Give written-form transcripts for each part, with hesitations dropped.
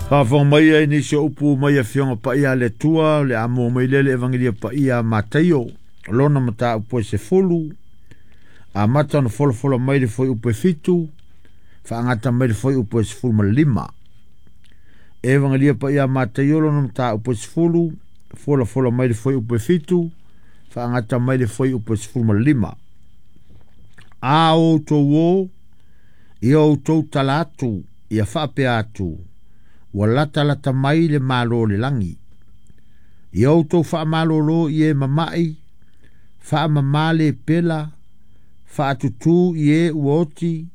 Faafofoga mai ai nisi o upu mai Afioga Paia a le Atua, o le a mua mai lea le Evagelia Paia a Mataio, lona mataupu e 10, amata ona folafola mai le fuaiupu e 7, faagata mai le fuaiupu e 15. Evagelia Paia a Mataio, lona mataupu e 10, folafola mai le fuaiupu e 7, faagata mai le fuaiupu e 15. A outou o, ia outou tala atu, ia faapea atu, ua latalata mai le Malo o le lagi. Ia outou faamalolo i e mama'i, faamamā le pela, faatutū i e ua oti,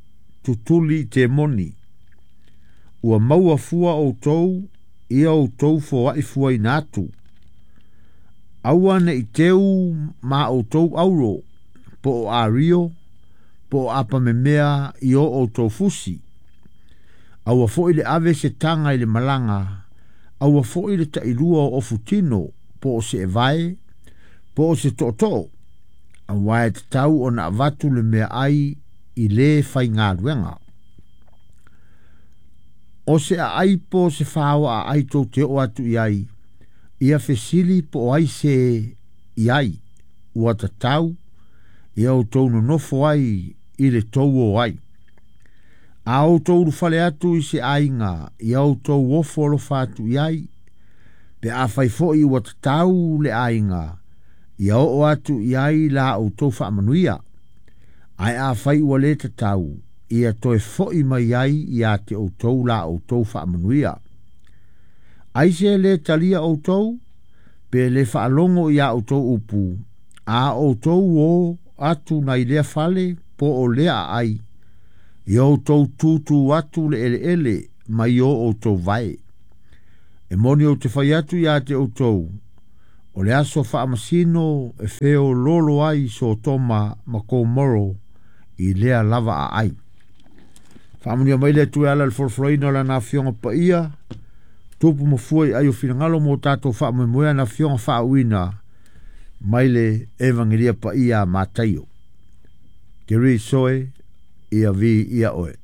tutuli i temoni. Ua maua fua outou, ia outou foa'i fuaina atu. Aua ne i teu ma outou auro, po o ario, po o apamemea i o outou fusi. Aua foi le ave se taga i le malaga, aua foi le tailua o ofutino, po o se evae, po o se tootoo, auā e tatau ona avatu le meaai i le faigaluega. O se aai po o se faoa aai tou te oo atu i ai, ia fesili po o ai se i ai, ua tatau, ia outou nonofo ai i le tou o ai. A outou ulufale atu i se aiga, ia outou ofo alofa atu i ai, pe afai foi ua tatau le aiga, ia oo atu i ai la outou faamanuia. Ae afai ua le tatau, ia toe foi mai ai ia te outou la outou faamanuia. Ai se le talia outou, pe le faalogo ia outou upu, a outou o atu nai lea fale po o lea aai, ia outou tūtū atu le eleele mai o outou vae. E moni ou te fai atu ia te outou, o le aso faamasino e feoloolo ai Sotoma ma Komoro i lea lava aai. Faamanuia mai le Atua e ala i le folafolaina o Lana Afioga Paia, tupu ma fua i ai o finagalo mo tatou faamoemoe ana Afioga faauuina mai le Evagelia Paia a Mataio. Te ri soe, ia vi ia oe.